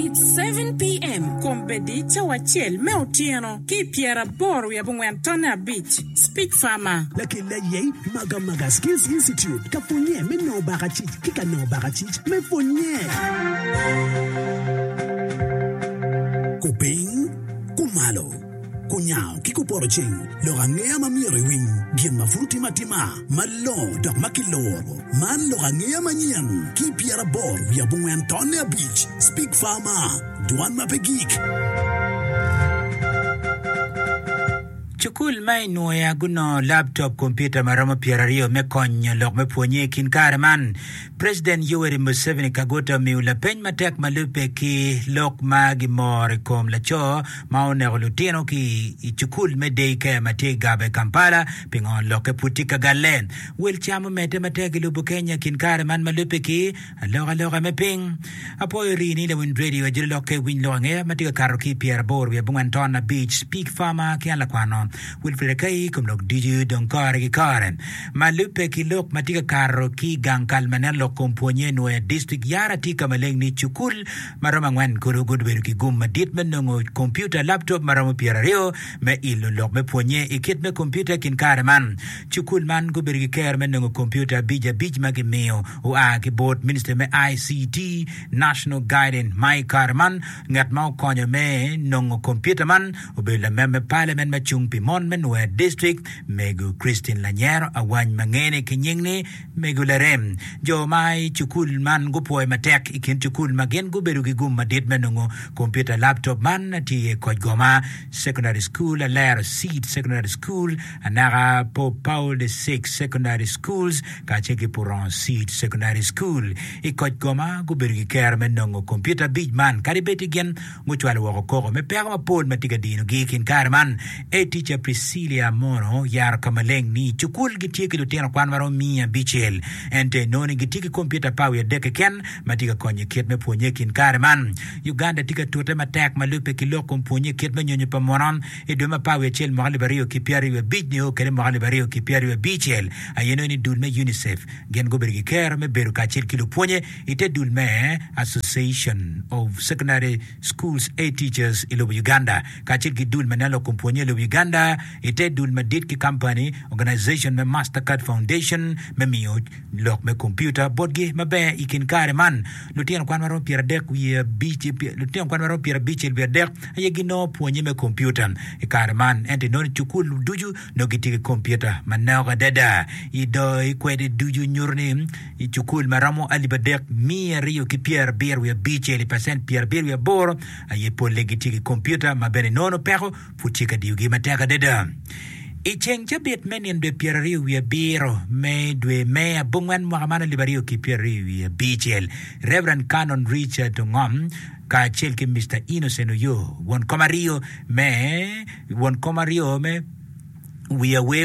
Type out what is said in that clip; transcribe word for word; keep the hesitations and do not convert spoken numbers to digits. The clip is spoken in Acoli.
It's seven P M Kombeddi cawa acel me otyeno ki pyeraboro wiye abongwen tonne abic. Speak Farmer. Lakella yei Magamaga Skills Institute ka pwonye me nongo bakacic ki ka nongo bakacic me pwonye. Kupiny, kumalo, kunyango ki kupoto ceng, lok angeya ma myero iwiny, gin ma pud timo atima, malongo dok ma kiloro. Man lok angeya manyen ki pyeraboro wiye abongwen tonne abic. Speak Farmer, dwan ma pe gik. Cukul ma i Nwoya gunongo laptop kompiuta ma romo pyeraryo me konyo lok me pwonye i kin kare man. President Yoweri Museveni Kaguta omiyo lapeny matek ma lubbe ki lok ma gimoro i kom laco ma oneko lutino ki i cukul me day care ma tye i Gaba i Kampala pingo lokke pud tye ka galle. Wel cam omedde matek i lobo Kenya kin kare man ma lubbe ki alokaloka me piny. Apwoyo rii ni lawiny radio ajolo lokke winy lok angeya ma tye ka kato ki i pyeraboro wiye abongwen ton abic Speak Farmer ki an lakwano Wilfred Akai i kom lok ducu dong kore ki kore. Ma lubbe ki lok ma tye ka kato ki i gang kal ma neno lok kom pwonye i Nwoya District yara tye ka maleng ni cukul ma romo angwen kulu gubedo ki gum madit me nongo kompiuta laptop ma romo pyeraryo me ilo lok me pwonye i kit me kompiuta i kin kare man. Cukul man gubedo ki kero me nongo kompiuta abic abic ma gimiyo oa ki bot Ministry me I C T National Guidance ma i kare man ngat ma okonyo me nongo kompiuta man obedo lamem me Parliament ma cung pi mon me Nwoya District Mego Christine Lanyero Awany ma ngene ki nying ni Mego Larem. Jo ma i cukul man gupwoyo matek i kin cukul ma gin gubedo ki gum madit me nongo kompiuta laptop man tye iye Kojgoma Secondary School, Alero Seed Secondary School, anaka Pope Paul the Sixth Secondary Schools kacel ki Puron Seed Secondary School. I Kojgoma gubedo ki kero me nongo kompiuta abic man kadi bed ni gin gucwalo woko koko me peko mapol ma tye ka dinogi i kin kare man. Headteacher Priscilla Mono yaro ka maleng ni cukul gitye ki lutino kwan ma romo miya abicel ento inongo ni gitye ki kompiuta apar wiye adek keken ma tye ka konyo i kit me pwonye i kin kare man. Uganda tye ka tute matek ma lubbe ki lok kom pwonye i kit me nyonyo pa muno i dwe me apar wiye acel mwaka alip aryo ki pyeraryo wiye abic nio kede mwaka alip aryo ki pyeraryo wiye abicel aye nongo ni dul me UNICEF gin gubedo ki kero me bedo kacel ki lupwonye i te dul me Association of Secondary Schools Head Teachers i lobo Uganda kacel ki dul ma neno lok kom pwonye i lobo Uganda i te dul madit ki company organization me Mastercard Foundation me miyo lok me kompiuta botgi maber i kin kare man. Lutino kwan ma romo pyeradek wiye abic lutino kwan ma romo pyerabicel wiye adek aye ginongo pwonye me kompiuta i kare man ento inongo ni cukul ducu nongo gitye ki kompiuta manok adada. I do i kwede ducu nyuto ni i cukul ma romo alip adek miya aryo ki pyerabiro wiye abicel i pacent pyerabiro wiye aboro aye polle gitye ki kompiuta ma bene inongo peko pud tye ka diyogi matek adada. I ceng cabit me nino dwe pyeraryo wiye abiro me dwe me abongwen mwaka man alip aryo ki pyeraryo wiye abicel Reverend Canon Richard Ongom kacel ki Mister Innocent Oyo won kom aryo me won kom aryo me wiye awe